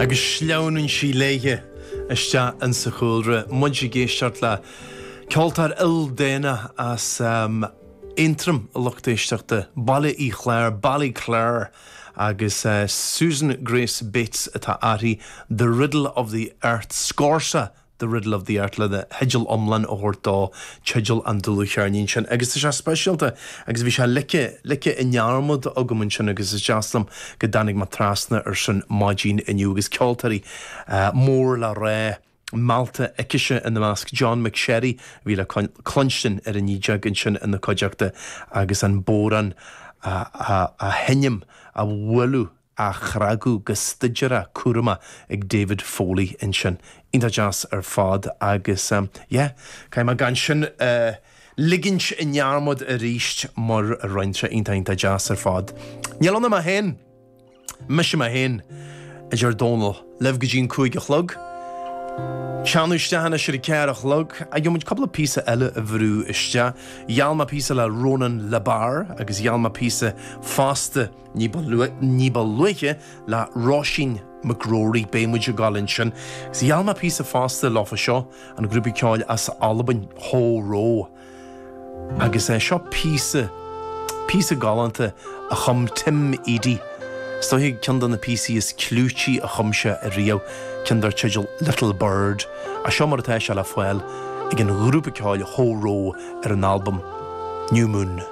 Agus sleamhnann sí léithe isteach insa chúlra, muid ag éisteacht le ceoltóir ildánach as Aontroim, a lucht éisteachta, Baile Uí Chláir, Ballyclare, agus Susan Grace Bates atá uirthi, The Riddle of the Earth, Scorsa The Riddle of the Earth lena theideal iomlán a thabhairt dó, teideal an dlúthcheirnín sin. Agus tá sé speisialta agus bhí sé ligthe, ligthe i ndearmad agam ansin agus is deas liom go dtáinig mé trasna ar sin maidin inniu agus ceoltóirí mór le rá meallta aicise ina measc, John McSherry a bhí le cluinstin ar an fhídeog ansin ina cuideachta agus an bodhrán á sheinm, á bhualadh. á chnagadh go staidireach cúramach ag David Foley ansin. Iontach deas ar fad agus yeah, caithfidh mé gan sin a ligint i ndearmad arís mar a rinne sé iontach iontach deas ar fad. Níl ann ach mé féin! Mise mé féin, a deir Dónal, libh go dtí an 5 a chlog. Teannadh isteach anois ar a 4 a chlog. Gheobhaidh muid cúpla píosa eile a bhrú isteach. Gheall mé píosa le Ronan LeBar agus gheall mé píosa fosta Ní ba ní ba luaithe le Róisín McGrory, beidh muid ag gabháil ansin. Agus gheall mé píosa fosta leofa seo, an grúpa ceoil as Albain, Ho Ro. Agus é seo píosa, píosa galánta a chum Tim Edey. Is dóiche ceann de na píosaí is clúití a chum sé ariamh, ceann dar teideal Little Bird. Ach seo mar atá sé le fáil ag an ghrúpa ceoil Ho Ro ar an albam New Moon.